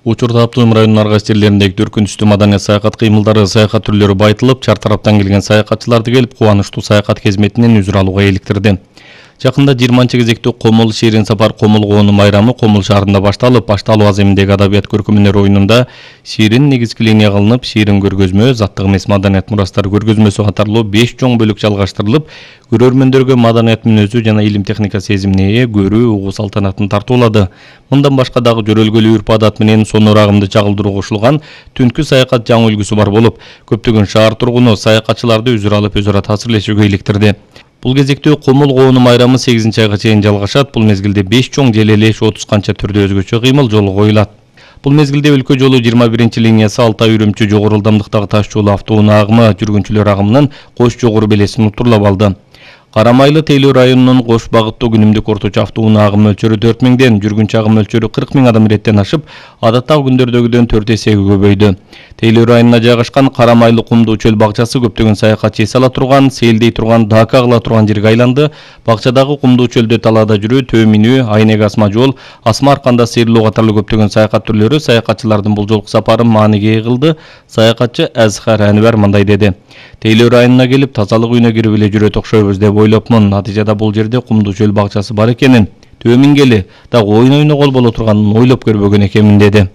Учурда Аптоим районунун ар кайсы жерлериндеги төркүнчүстүү маданият саякат кыймылдары, саякат түрлөрү байытылып, чар тараптан келген саякатчыларды келип кубанычтуу саякат кезметинен үзүр алууга иликтирди. Жакында 20-кезектүү Комул Ширин сапар Комул коонун майрамы Комул шаарында башталуу аземиндеги адабият көркөмүнөр оюнунда Ширин негизги линияга алынып, Ширин көргөзмө, заттык эмес маданият мурастары көргөзмөсү катарлуу 5 чоң бөлүк жалгаштырылып, көрөрмөндөргө маданият мүнөзү жана илим техника сезимине ээ көрүү, угуу салтанатын тартуулады. Мындан башка дагы жөрөлгөлүү үрп-адат менен сонор агымды чагылдыруу кошулган түнкү саякат жаңы үлгүсү бар болуп, көптөгөн шаар тургуну саякатчыларды үзүр алып өзара таасирлешүүгө иликтирди. Бул кезекте Комул коонун майрамы 8-айга чейин жалгашат. Бул мезгилде 5 чоң желелеш 30 канча түрдө өзгөчө кыймыл жолу коюлат. Бул мезгилде өлкө жолу 21-линиясы Алтай Үрүмчү жогору ылдамдыктагы таш жолу автоунаа агымы жүргүнчүлөр агымынын кош жогору белесин утурлап алды. Карамайлы Тейлөө районунун кош багыттуу күнүмдүк орточо автоунаа агым мөлчөрү 4000ден, жүргүнчү агым мөлчөрү 40 000 адам иреттен ашып, адаттагы күндөрдөгүдөн 4 эсеге көбөйдү. Тейлөө районуна жайгашкан Карамайлы кумдуу чөл бакчасы көптөгөн саякатчы эс ала турган, сейилдей турган, дака кыла турган жерге айланды. Бакчадагы кумдуу чөлдө талаада жүрүү, төө минүү, айнек асма жол, асма арканда сыйрылуу катарлуу көптөгөн саякат түрлөрү саякатчылардын бул жолку сапарын мааниге ээ кылды. Саякатчы Азхар Анвар мындай деди: Тейлөө районуна келип тазалык үйүнө кирип эле жүрөт окшойбуз деп ойлопмун. Натыйжада бул жерде кумдуу чөл бакчасы бар экенин, төө мингели дагы ойнойно кол боло турганын ойлоп көрбөгөн экенмин деди.